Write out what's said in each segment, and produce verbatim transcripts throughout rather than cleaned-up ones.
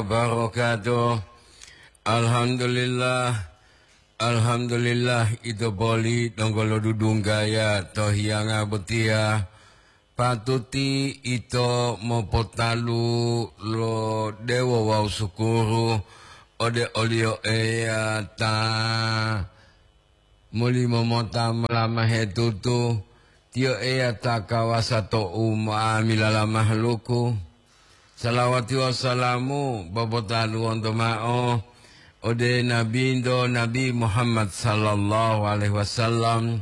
wabarakatuh. Alhamdulillah, alhamdulillah, ito poli donggo lodudunggaya to hiyanga botiya. Patuti ito mopotalu lo dewo wawu sukuru ode oliyo Eya ta molimo mota molamahe tutu, Tiyo Eya ta kawasa to unga'amila lo mahaluku. Salawati wawu salamu popotaluwonto mao ode Nabinto Nabi Muhammad sallallahu alaihi wasallam,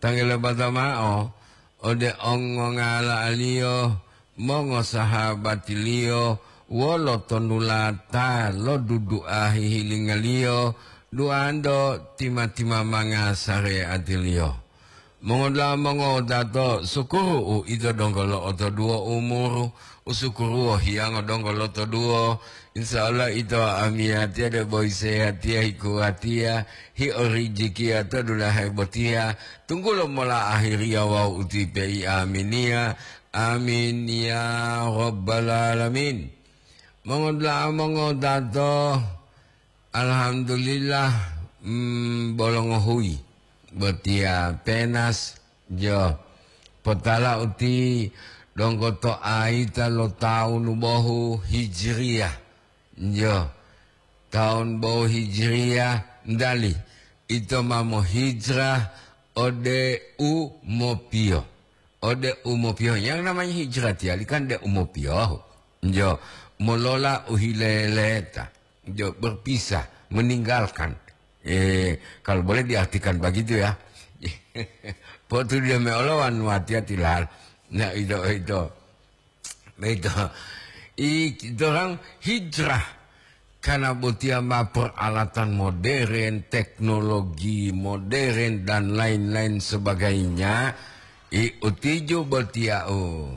tangelo bata mao ode ongongala'aliyo, mongosahabatiliyo wolo tonulata lo dudu'a hihilingaliyo, duwanto tima-timamanga sare'atiliyo. Mongodula'a mongowutato, sukuru u ito donggo lo'otoduwo umuru, u sukuruwo hiyango donggo lotoduwo. Insya Allah ito amiyatiya debo hisehatiya, hikuwatiya, hiorijikiya to dulahe botiya, tunggulo mola ahiriya wawu utipe'i. Aminiya, amin ya rabbal alamin. Mongodula'a mongowutato, alhamdulillah, mm, bolongohuyi botiya penas, jo, potala uti donggo to ayita lo tawunu bohu Hijriyah, jo, tawunu bohu Hijriyah, ndali ito ma mohijrah ode u mopiyohu. Ode u mopiyohu. Yang namanya hijrah tiyali kan de u mopiyohu. Jo, molola u hileleta. Jo, berpisah, meninggalkan. Eh, kalau boleh diartikan begitu ya. Potu dia meolowan watiya tilal. Nah, itu, itu. Begitu. I, dorang hijrah. Karena botiya ma peralatan modern, teknologi modern, dan lain-lain sebagainya, i utiju botiya u.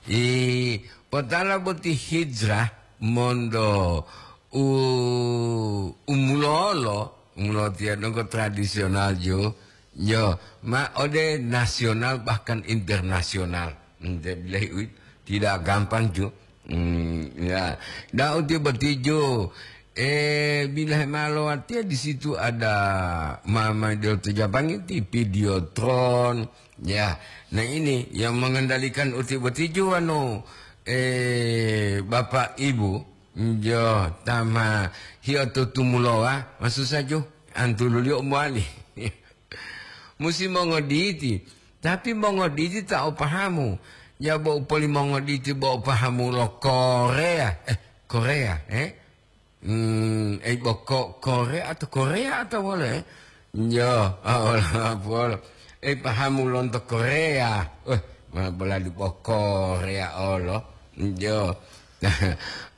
I potala boti hijrah mondo u, umulolo, umulolo tiya donggo tradisional ju, jo, ma ode nasional bahkan internasional. Hmm, jadi, tidak gampang ju. Hmm, ya. Daud tiba tijo, eh, bila hemalo artinya di situ ada mama dia tu Japangi ti Videotron. Ya. Nah, ini yang mengendalikan uti betijo anu, eh, Bapak Ibu, jo, tama hiyo tutumulowa, maksud saja antululiyo muali. Musi mongoditi, tapi mongoditi ta o pahamu. Ya bo upoli mongoditi bo o pahamu lo Korea, eh, Korea, eh. Hmm, ei bo ko-, Korea atau Korea atau wole, eh? Jo, ah, wole, wole. Ei pahamu lonto Korea. Eh, ma bolali bo Korea olo. Jo.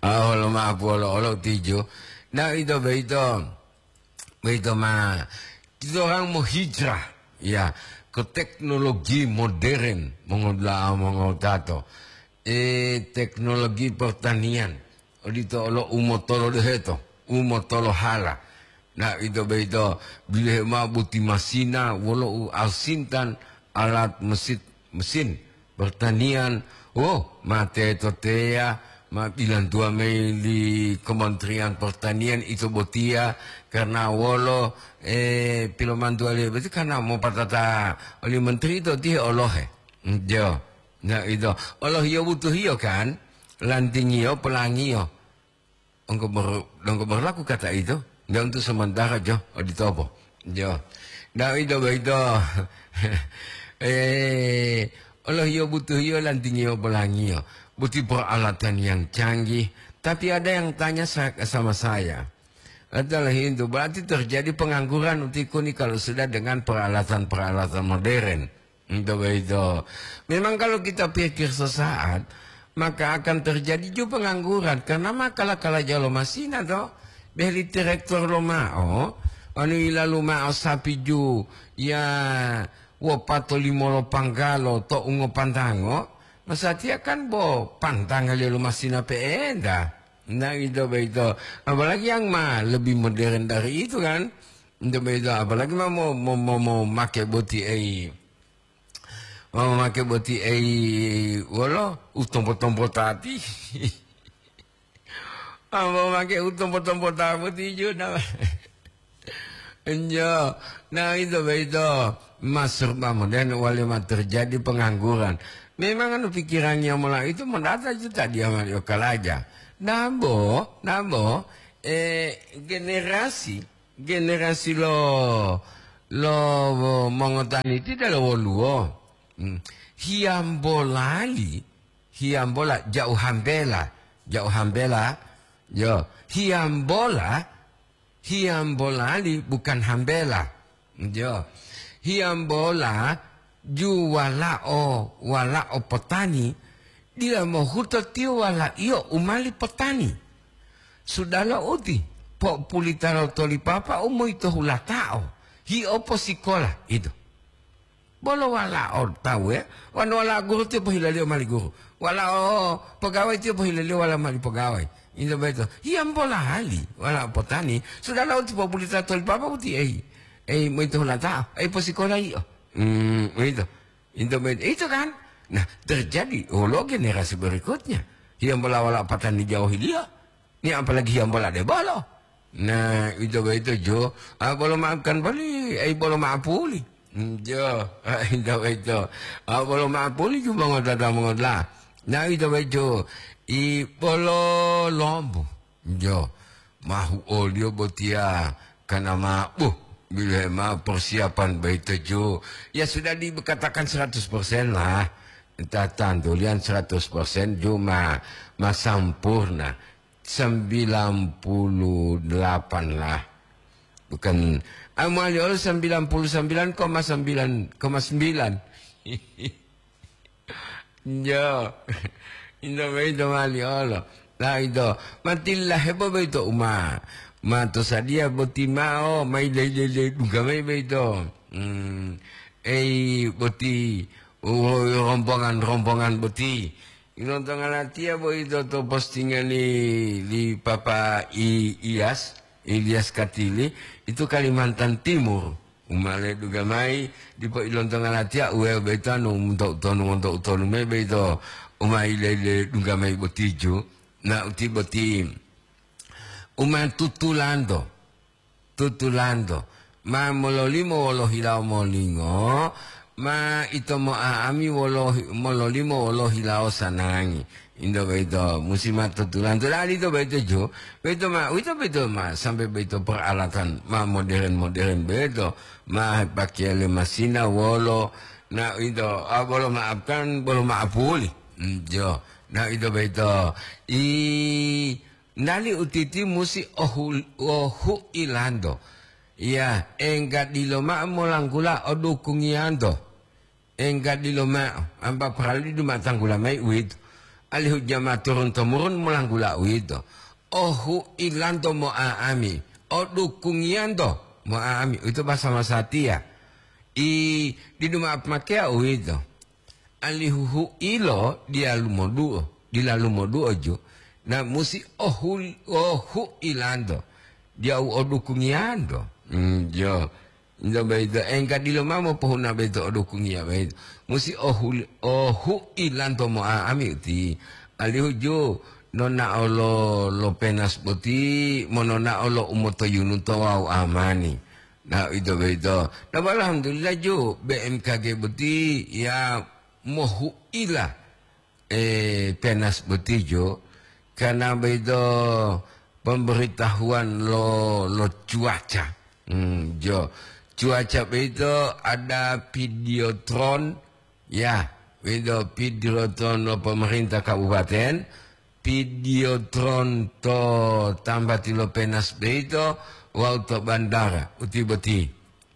Ah, wole ma wole olo tijo. Nah, itu begitu. Boyito ma, titorang mohijrah, ya, ke teknologi modern, mongodula'a mongotato. Eh, teknologi pertanian, odito olo umotolo deheto, umotolo hala. Nah, ito boyito bilohe mao boti masina wolo u asintan alat mesit-, mesin pertanian. Oh, ma teto teya, ma bilantuwa mayi li Kementerian Pertanian ito botiya, karena wolo, eh, pilomantuwaliyo boti karena mopatata oli menteri ito tihe olohe. Jo. Nah, ito. Olohiyo butuhiyo kan? Lantingiyo, pelangiyo. Engkau ber-, engkau berlaku kata itu, dan untuk sementara, jo, oditopo. Jo. Dan itu begitu. Eh, olohiyo butuhiyo lantingiyo pelangiyo. Buti peralatan yang canggih. Tapi ada yang tanya sa-, sama saya. Adalah itu, berarti terjadi pengangguran utikuni kalau sudah dengan peralatan-peralatan modern. Itu begitu. Memang kalau kita pikir sesaat, maka akan terjadi juga pengangguran. Karena ma kala-kala jalo masina to, beheli direktor lo mao, anu ilalu mao sapi ju, ya, wopato limolo panggalo to ungo pantango, masatiya kan bo pantangaliyo lo masina pe'enta. Nah, itu begitu. Apalagi yang ma lebih modern dari itu kan. Itu begitu. Apalagi ma mo, mo, mo, mo make boti ei. Wau mamake boti ei wolo u tompo-tompo tati. Ambo make u tompo-tompo tabu tiju na. Enjo, na ito boyito masurba modern wale ma terjadi pengangguran. Memang anu pikirannya mola itu modata juta dia mali okalaja. Nambo, nambo, eh, generasi, generasi lo, lo mongotani tidak lo woluwo. Hmm. Hiyambolali, hiyambola jauh hambela, jauh hambela, yo, hiyambola, hiyambolali bukan hambela, yo, hiyambola ju walao, walao potani, dila mohuto tiyo walaiyo u mali potani. Sudalo uti, populitalo tolipapa u moyito hulatao, hiopo sikola, ito. Bolo walao tawu, ya. Wonu walao guru tiyo pohilaliyo mali guru. Walao pegawai tiyo pohilaliyo wala mali pegawai. Into boyito. Hiyambola hali walao potani. Sudalo uti populita tolipapa uti ei. Ei, moyito hulata. Ei, posikola iyo. Hmm, ito. Into boyito. Ito kan? Nah, terjadi olo generasi berikutnya. Hiyambola walao patani jauhiliyo. Ni apalagi hiyambola debolo. Nah, ito boyito jo, ah, bolo maafkan boli, ai bolo maapuli. Hmm, jo, ah, ito boyito. Ah, bolo maapuli ju mongotata mongotla. Nah, ito boyito, i bolo lombo. Jo, mahu oliyo botiya kana ma, buh, bilohe ma persiapan boyito jo. Ya sudah dikatakan seratus persen lah. Entah tantulian seratus persen jo ma, ma sampurna. Sembilan puluh delapan lah. Bukan, ah, mali olo sembilan puluh sembilan koma sembilan koma sembilan. Yo. Into boyito mali olo. Nah, ito. Matilla hebo boyito uma. Ma to sadiya boti mao, mai lele-lele dungga mai boyito. Hmm. Ei, boti, oh, rombongan-rombongan boti. Ilontonga latiya boyito to postingan li, li Papa I-, Iyas, Ilyas Katili, itu Kalimantan Timur. Umale dungga mai, dipo ilontonga latiya, uwe boyito anu monto utonu, monto utonu me boyito, umai lele dungga mai botiju, na uti boti, uma tutulanto. Tutulanto, ma mololimo wolo hilawo molingo, ma ito mo'a'ami wolo, mololimo wolo hilawo sanangi. Into boyito, musi ma tutulanto. Dali ito boyito jo, boyito ma, uwito boyito ma, sampai boyito peralatan ma modern-modern boyito, ma pakeya le masina wolo, na ito, ah, bolo maafkan, bolo maapuli. Hmm, jo. Na ito boyito, i, Nali utiti musi ohu-, ohu'ilanto. Iya, engga dilo mao molanggula odukungiyanto. Engga dilo mao, ampa parali duma tanggula mayi uwito. Alihu jama turun-temurun molanggula uwito. Ohu'ilanto mo'a'ami, odukungiyanto mo'a'ami. Uwito basa masatiya. I, didu mao pemakeya uwito. Alihu hu'ilo diyalu moduo, dilalu moduo ju, na musi ohul-, ohu'ilanto, diya u odukungiyanto. Hmm, jo. Into boyito, engka dilo mao mopohuna boyito odukungiya boyito. Musi ohul-, ohu'ilanto mo'a'ami uti. Alihu ju, nonao lo, lo penas boti, mononao lo umotoyunuto wawu amani. Nah, ito boyito. Nah, alhamdulillah ju, B M K G boti ya mohu'ila, eh, penas boti ju. Karena boyito pemberitahuan lo, lo cuaca. Hmm, jo. Cuaca boyito ada videotron, ya, boyito videotron lo pemerintah kabupaten. Videotron to tambati lo penas boyito wawu to bandara uti boti.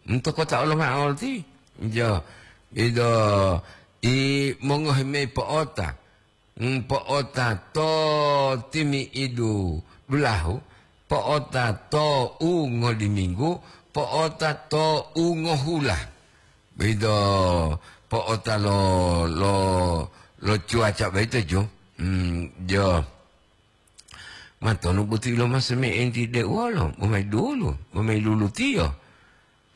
Nto kota oloma'o ti? Jo, ido i mongohi mayi po'ota. Mm, po'ota to timi'idu dulahu, po'ota to u ngoliminggu, po'ota to u ngohula. Boyito po'ota lo, lo, lo cuaca boyito, ju. Hmm, jo. Matonu boti ilomase me enti de wolo, bo mayi dulu, bo mayi lulutiyo.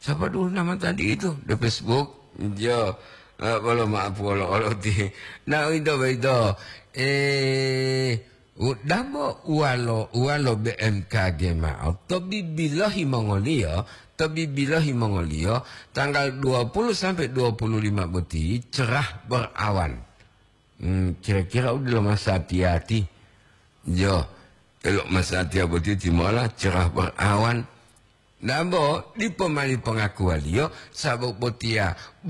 Sapa dulu nama tadi itu? De Facebook? Jo. Eh, bolo ma'apu olo-olo ti. Nah, ito boyito. Eh, U-, dabo uwalo, uwalo B M K G ma'o, to bibilohi mongoliyo, to bibilohi mongoliyo, tanggal dua puluh sampai dua puluh lima boti cerah berawan. Hmm, kira-kira u delo masatiya-tiya. Jo, elo masatiya boti timola cerah berawan. Dabo, dipo mani pongakuwaliyo, sabab botiya